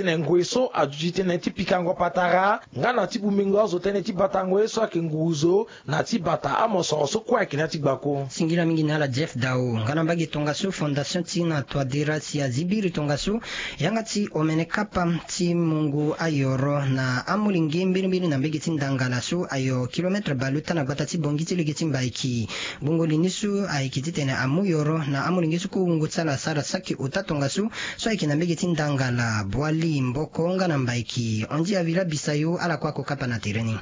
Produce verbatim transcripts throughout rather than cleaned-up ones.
Tënë ngoi so aduti tënë ti pikango patara nga na ti bumengo azo tënë ti batango ye so ayeke nguruzo na ti bata amosoro so kue ayeke na ya ti gbako. Singila mingi na ala Jeff Dao. Nga na mbage tongaso, fondation ti na Touadéra si azi biri tongaso yanga ti omene kapa ti mungo ayoro na amolenge mbirimbiri na mbage ti Ndangala so ayo kilomètre baluta na gbata ti Bangui ti lege ti Mbaiki. Gbongo li ni so ayeke titene amu yoro na amolenge so kue wungo ti ala asara saki ota tongaso so ayeke na mbage ti Ndangala, Boali, Mboko nga na Mbaiki. Andy Avila Bisayo, ala kue ako kapa na tere ni.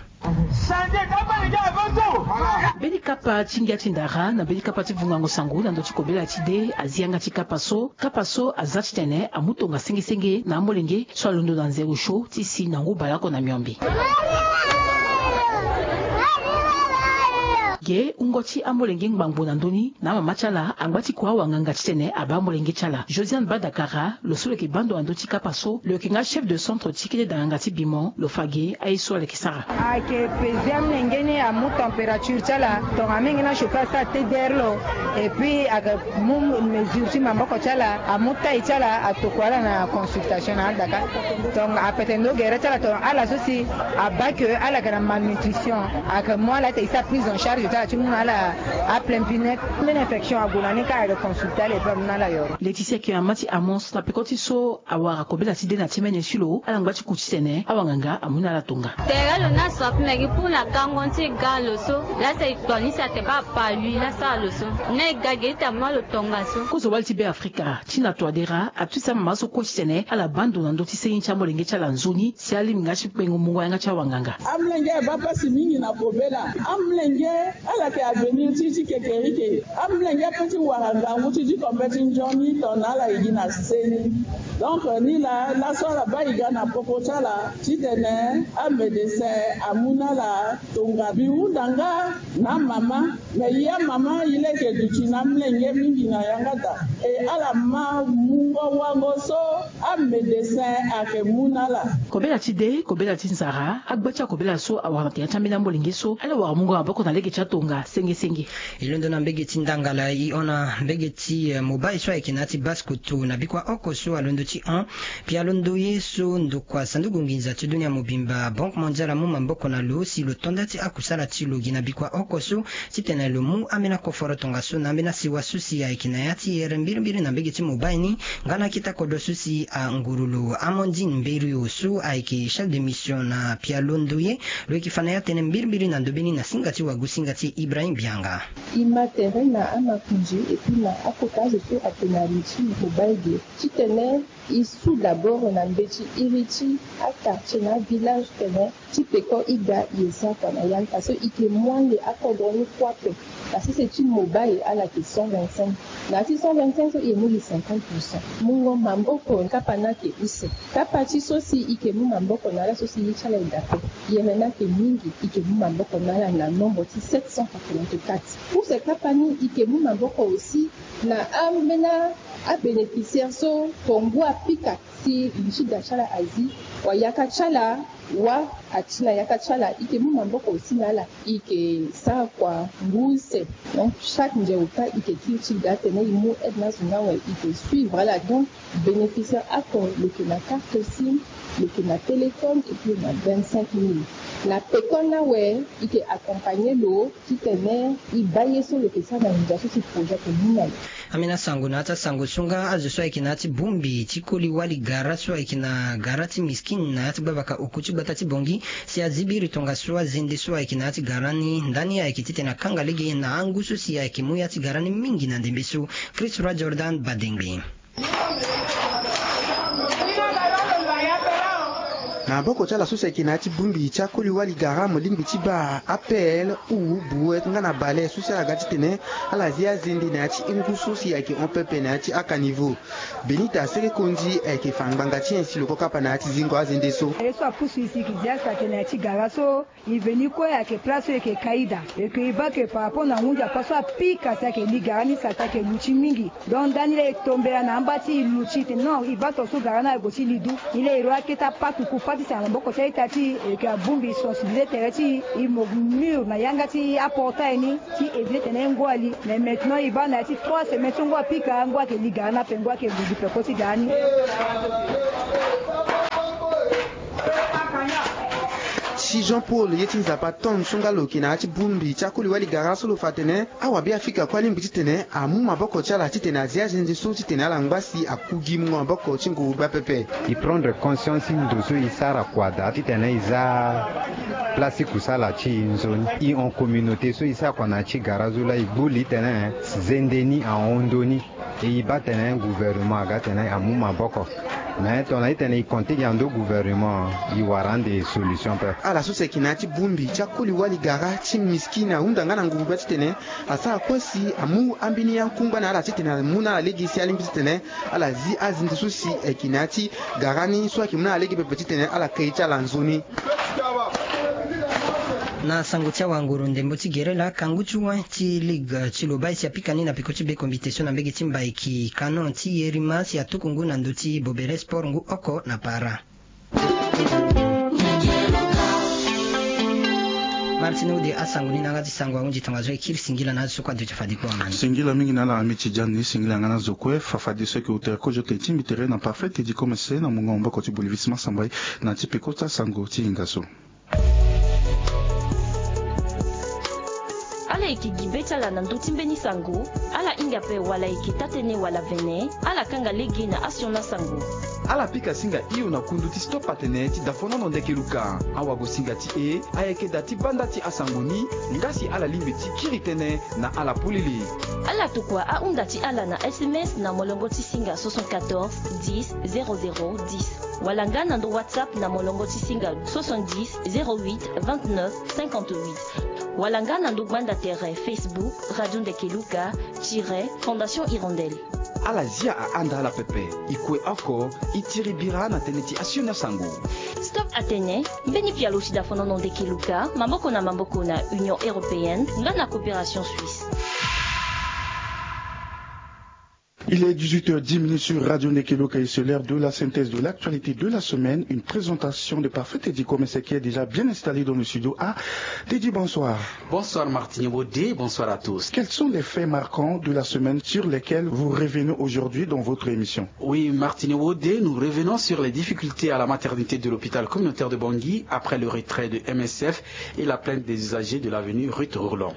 Mbeni kapa ti ngia ti ndara na mbeni kapa ti vungango sango na ndö ti kobela ti de azi yanga ti kapa so. Kapa so aza titene amu tongaso senge senge na amolenge so alondo na nzero sho ti si na ngu baleoko na miombe. Ge wungo ti amolenge ngbangbo na ndö ni na amama ti ala angba ti kua awanganga titene abaa amolenge ti ala. Josiane Badakara, lo so lo yeke baa ndo na ndö ti kapa so, lo yeke nga chef de centre ti kete danganga ti bimo, lo fa ge aye so ala yeke sara. Ayeke peze amolenge ni amu température ti ala, tongana amolenge ni achauffer asara te derrière lo. Et puis ayeke mu mesure ti maboko ti ala, amu taille ti ala, atokua ala na consultation na adaka. Donc apete ndo gere ti ala tongana ala so si abaa ke ala yeke na malnutrition, ayeke mu ala ti e sara prise en charge ti ala ti mu na ala aplein bien-être. Mbeni infection ague na ni kâ, ayeke consulter ala et puis amu na ala yoro. Laetitia ayeke mama ti Amos na peko ti so awara kobela ti de na ti mene ti lo, ala ngba ti ku titene awanganga amu na ala tonga. Tere lo na so ape meke pour na gango ti e ga lo so, laa si e kpa ni si atene baa apa lui laa sara lo so. Ni e ga ge ti amu na lo tongaso. Kozo wali ti Beafrika ti na Touadéra atuti amama so kue titene ala baa ndo na ndö ti seni ti amolenge ti ala nzoni si alingbi nga ti kpengo mungo yanga ti awanganga. Amolenge abaa pasi mingi na kobela. Amolenge ala yeke avenir ti, ti kekerike. Amolenge ape ti wara ngangu ti diko mbeti nzoni tongana ala e gi na seni. Donc ni laa, laso ala baa e ga na popo ti ala titene amédecin amu na ala tonga. Mbi hunda nga na amama, me e amama e leke duti na amolenge mingi na yanga daa. E ala ma mungo wango so amédecin ayeke mu na ala. Kobela ti de, kobela ti nzara, agba ti akobela so awara na tere ti ambeni amolenge so ala wara mungo maboko na lege ti atonga senge senge. E londo na mbage ti Ndangala, e hon na mbage ti, eh, mobile so ayeke na ya ti Basse-Kotto na bikua oko so alondo ti hon. Pialondo ye so ndokua sanduku nginza ti dunia mobimba, Banque Mondiale, amu maboko na lo si lo to nda ti akusala ti lo gi na bikua oko so titene lo mu ambeni akoforo tongaso na ambeni asiwa so si ayeke na ya ti here mbirimbiri na mbage ti mobile ni, nga na akita kodro so si anguru lo. Amandine Mberio so ayeke chef de mission na Pialondo ye, lo yeke fa na ya tënë mbirimbiri na ndö mbeni na singa ti wagu singa ti Ibrahim Bianga. E ma tere na amakonzi et puis na akota azo so ayeke na li ti mobile ge titene e su d'abord na mbeti iri ti aquartier na avillage tene ti peko e ga e ye sara kua na yanga so e yeke mu ande akodro ni kue ape. Na sese ti mobile ala yeke cent vingt-cinq. Na ya ti cent vingt-cinq so e mu gi cinquante pour cent. Mungo maboko kapa ni ayeke use. Kapa ti so si e yeke mu maboko na ala so si ye ti ala e daa ape. Yere ni ayeke mingi, e yeke mu maboko na ala na nombre ti sept cent quatre-vingt-quatre. Pour ce kapa ni e yeke mu maboko aussi na ambeni abénéficiaire so tongo apika si li ti da ti ala azi, wala yaka ti ala, wala ati na yaka ti ala, e yeke mu maboko aussi na ala, e yeke sara kua ngu use. Donc chaque nze ota e yeke kiri ti ga atene e mu aide na azo ni awe, e yeke suivre ala. Donc bénéficiaire oko lo yeke na carte sim, lo yeke na téléphone et puis na vingt-cinq mille. Na peko ni awe e yeke accompagner lo titene e baa ye so lo yeke sara na nginza so si projet ayeke mu na lo. Ambeni asango na ya ti asango so nga azo so ayeke na ya ti bongbi ti koli wali gara so ayeke na gara ti Miskine na ya ti gbavaka oku ti gbata ti Bangui si azi biri tongaso azende so ayeke na ya ti gara ni. Ndani ayeke titene akanga lege na angu so si ayeke mu ya ti gara ni mingi na ndembe so. Christ Roi Jordan Badengbe. Na maboko ti ala so si ayeke na ya ti bongbi ti akoli wali gara, mo lingbi ti baa A P L, Houhou, Brouette nga na Bale so si ala ga titene ala zi azende na ya ti ngu so si ayeke hon pepe na ya ti akaniveau. Benita Sere Kondi ayeke fa ngbanga ti nyen si lo ko kapa na ya ti zingo azende so. Ye so apusu e si e yeke zi asa ayeke na ya ti gara so. E veni kue ayeke place so e yeke ka ida. E yeke e baa ke par rapport na ngu nzapa so apika si ayeke li gara ni, si ayeke luti mingi. Donc ndani laa e tombela na amba ti e luti tene non, e baa tongaso gara ni ague ti li du. Ni laa e rua akete apatuku pâte ti si na maboko ti a-ita ti e, e yeke abongbi sensibiliser tere ti e, e mo mûr na yanga ti aportail ni ti éviter tene ngu ali. Mais maintenant e baa na ya ti trois semaines so ngu apika, ngu ayeke li gara ni ape, ngu ayeke gue gi peko ti gara ni. Jean Paul ye ti Nzapa Ton so nga lo yeke na ya ti bongbi ti akoli wali gara so lo fa atene awabe Afrika kue alingbi titene amu maboko ti ala titene azi azenze so titene ala ngba si aku gi mungo maboko ti nguru gba pepe. E prendre conscience ti ndo so e sara kua daa titene e za place ti kusala ti e nzoni. E hon communauté so e sara kua na ya ti gara zo laa e gbu li titene zende ni ahon ndo ni. E e baa tene gouvernement aga tene amu maboko. Mais tongana e tene e konte gi ando gouvernement, e wara ande solution pe. Ala so si ayeke na ya ti bongbi ti akoli wali gara ti miskina ahunda nga na nguru gba titene asara kue si amu ambeni akungba na ala titene amu na ala lege si alingbi titene ala zi azinzi so si ayeke na ya ti gara ni so ayeke mu na ala lege pepe titene ala kei ti ala nzoni. Na sango ti awanguru ndembo ti gere laa kangu ti wen ti ligue ti lobai si apika ni na peko ti be kombite so na mbege ti mbaiki canon ti yerima si atuku ngu na ndö ti bobere sport ngu oko na para. Martini ude asango ni na yanga ti sango ahunzi tongaso e kiri singila na azo so kue aduti fade kue wamani. Singila mingi na ala ami ti jan ni singila yanga na azo kue fafadeso ayeke utere kozo tene ti mbi tere na parfait tedi komese na mungo maboko ti bolivisma sambai na ti peko ti asango ti hinga so. Ala yeke gi be ti ala na ndö ti mbeni sango. Ala hinga ape wala eke taa-tënë wala vene. Ala kanga lege na asiona sango. Ala pika singa hio na kundu ti stop atene ti dafonono ndeke luka. Awagosinga ti e ayeke daa ti banda ti asango ni. Nga si ala lingbi ti kiri tënë na ala polele. Ala tokua ahunda ti ala na sms na molongo ti singa soixante-quatorze dix zéro zéro dix. Wala nga na ndo whatsapp na molongo ti singa soixante-dix zéro huit vingt-neuf cinquante-huit. Wala nga na ndo gbanda tere facebook radio ndeke luka tire fondation hirondelle. Ala zia ahanda ala pepe. E kue oko e tiri bira na tënë ti asioni asango. Stop atene mbeni pialo ti dafonono ndeke luka maboko na maboko na union européenne nga na coopération suisse. Il est dix-huit heures dix minutes sur Radio Ndeke Luka et c'est l'heure de la synthèse de l'actualité de la semaine. Une présentation de Parfait Teddy Komese qui est déjà bien installé dans le studio. Ah, Teddy, bonsoir. Bonsoir Martini Bodé, bonsoir à tous. Quels sont les faits marquants de la semaine sur lesquels vous revenez aujourd'hui dans votre émission ? Oui, Martini Bodé, nous revenons sur les difficultés à la maternité de l'hôpital communautaire de Bangui après le retrait de M S F et la plainte des usagers de l'avenue Ruth Roland.